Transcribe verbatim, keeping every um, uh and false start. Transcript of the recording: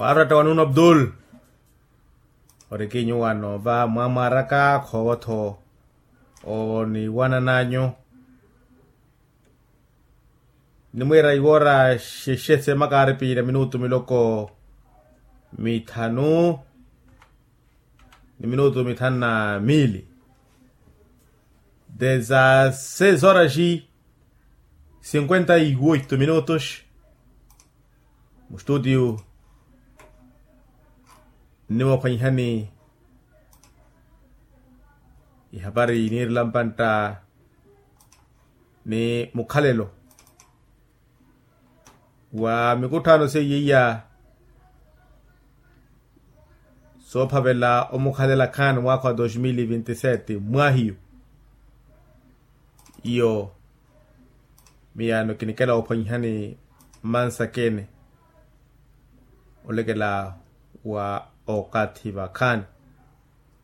Paarata wa nuno abdul. Orikinyu wano va mwamwaraka khoovo-tho oniwanananyu. Nimwiira iwoora xexe seemaka aari piira minutu miloko mithanu ni minutu mithanu na miili. Dezasseis horas e cinquenta e oito minutos. Mustutio nniwookhwenyihani ihapari niirela mpantta ni mukhalelo wa mikutthaano seiya iya soophavela omukhalela khan mwaakha wa dos mil e vinte e sete mwaahiyu. Iyo miyaano kinikela woophwanyihani mmansakeni olekela wa okathi vakhaani.